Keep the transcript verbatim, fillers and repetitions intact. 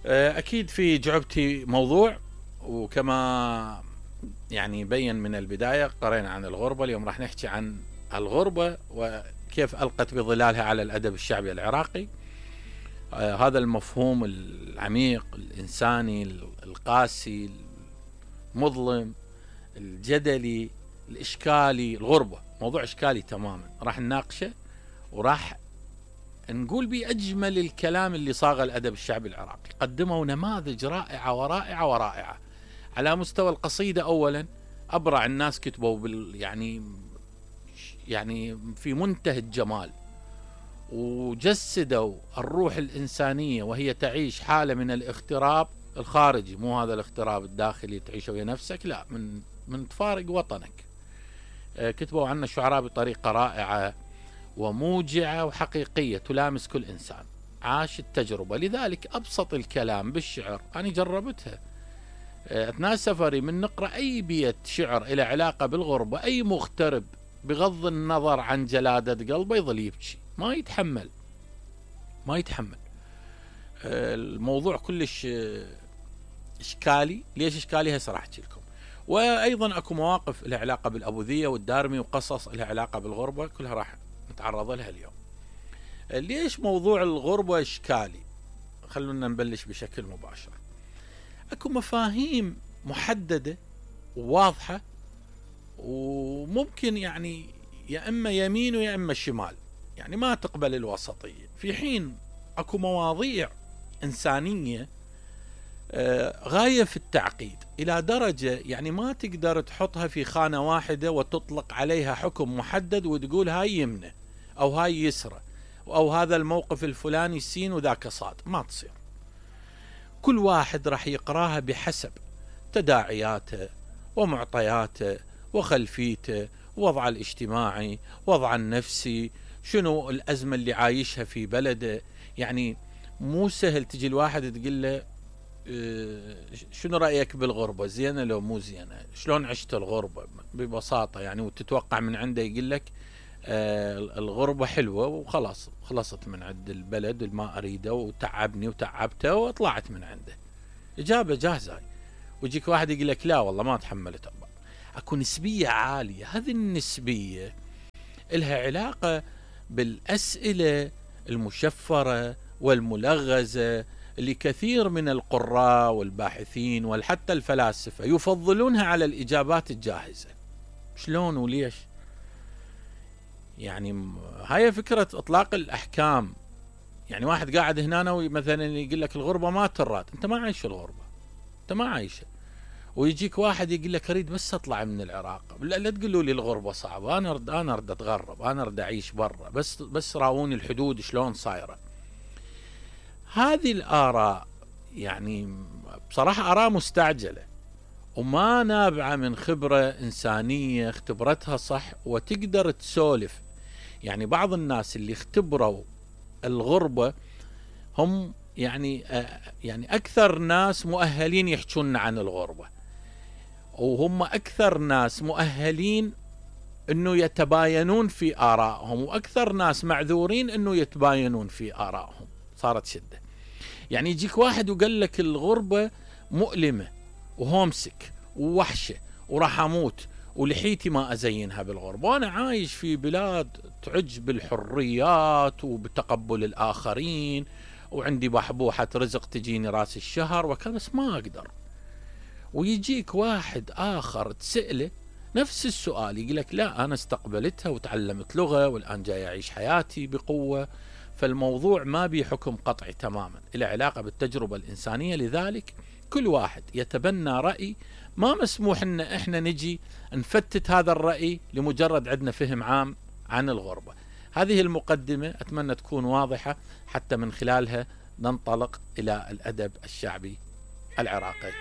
أكيد في جعبتي موضوع، وكما يعني بين من البداية قرينا عن الغربة. اليوم راح نحكي عن الغربة وكيف ألقت بظلالها على الأدب الشعبي العراقي. آه هذا المفهوم العميق الإنساني القاسي المظلم الجدلي الإشكالي، الغربة موضوع إشكالي تماما، راح نناقشه وراح نقول بأجمل الكلام اللي صاغ الأدب الشعبي العراقي. قدموا نماذج رائعة ورائعة ورائعة على مستوى القصيدة. أولا أبرع الناس كتبوا بال يعني يعني في منتهى الجمال، وجسدوا الروح الإنسانية وهي تعيش حالة من الاغتراب الخارجي، مو هذا الاغتراب الداخلي تعيشه ويا نفسك، لا، من من تفارق وطنك. كتبوا عنا الشعراء بطريقة رائعة وموجعة وحقيقية تلامس كل إنسان عاش التجربة. لذلك أبسط الكلام بالشعر أنا جربتها أثناء سفري، من نقرأ أي بيت شعر إلى علاقة بالغربة، أي مغترب بغض النظر عن جلادة قلبه يظل يبكي، ما يتحمل ما يتحمل الموضوع كلش إشكالي. ليش إشكالي؟ هسه راح أحكي لكم. وأيضا أكو مواقف لها علاقة بالأبوذية والدارمي، وقصص لها علاقة بالغربة، كلها راح نتعرض لها اليوم. ليش موضوع الغربة إشكالي؟ خلونا نبلش بشكل مباشر. أكو مفاهيم محددة وواضحة، وممكن يعني يا إما يمين ويا إما شمال، يعني ما تقبل الوسطية. في حين أكو مواضيع إنسانية غاية في التعقيد إلى درجة يعني ما تقدر تحطها في خانة واحدة وتطلق عليها حكم محدد وتقول هاي يمنة أو هاي يسرة أو هذا الموقف الفلاني سين وذاك صاد، ما تصير. كل واحد راح يقراها بحسب تداعياته ومعطياته وخلفيته، وضعه الاجتماعي، وضعه النفسي، شنو الأزمة اللي عايشها في بلده. يعني مو سهل تجي الواحد تقول له شنو رأيك بالغربة، زينة لو مو زينة، شلون عشت الغربة ببساطة يعني، وتتوقع من عنده يقول لك آه الغربة حلوة وخلاص، خلصت من عند البلد اللي ما أريده وتعبني وتعبته وطلعت من عنده. إجابة جاهزة. ويجيك واحد يقول لك لا والله ما تحملت. أكو نسبية عالية، هذه النسبية إلها علاقة بالأسئلة المشفرة والملغزة اللي كثير من القراء والباحثين وحتى الفلاسفة يفضلونها على الإجابات الجاهزة. شلون وليش؟ يعني هاي فكرة إطلاق الأحكام. يعني واحد قاعد هنا مثلا يقول لك الغربة ما ترات، أنت ما عايش الغربة، أنت ما عايشة. ويجيك واحد يقول لك أريد بس أطلع من العراق، لا, لا تقولوا لي الغربة صعبة، أنا أرد أنا أرد أتغرب، أنا أرد أعيش برا، بس بس راوني الحدود شلون صايرة. هذه الآراء يعني بصراحة آراء مستعجلة وما نابعة من خبرة إنسانية اختبرتها صح وتقدر تسولف. يعني بعض الناس اللي اختبروا الغربة هم يعني يعني أكثر ناس مؤهلين يحكون عن الغربة، وهم أكثر ناس مؤهلين أنه يتباينون في آرائهم، وأكثر ناس معذورين أنه يتباينون في آرائهم. صارت شدة. يعني يجيك واحد وقال لك الغربة مؤلمة وهومسك ووحشة وراح أموت ولحيتي ما أزينها بالغربة، وأنا عايش في بلاد تعج بالحريات وبتقبل الآخرين وعندي بحبوحة رزق تجيني راس الشهر وكذا، بس ما أقدر. ويجيك واحد آخر تسأله نفس السؤال يقول لك لا أنا استقبلتها وتعلمت لغة والآن جاي أعيش حياتي بقوة. فالموضوع ما بيه حكم قطعي تماما، إلى علاقة بالتجربة الإنسانية. لذلك كل واحد يتبنى رأي، ما مسموح إن إحنا نجي نفتت هذا الرأي لمجرد عندنا فهم عام عن الغربة. هذه المقدمة أتمنى تكون واضحة حتى من خلالها ننطلق إلى الأدب الشعبي العراقي.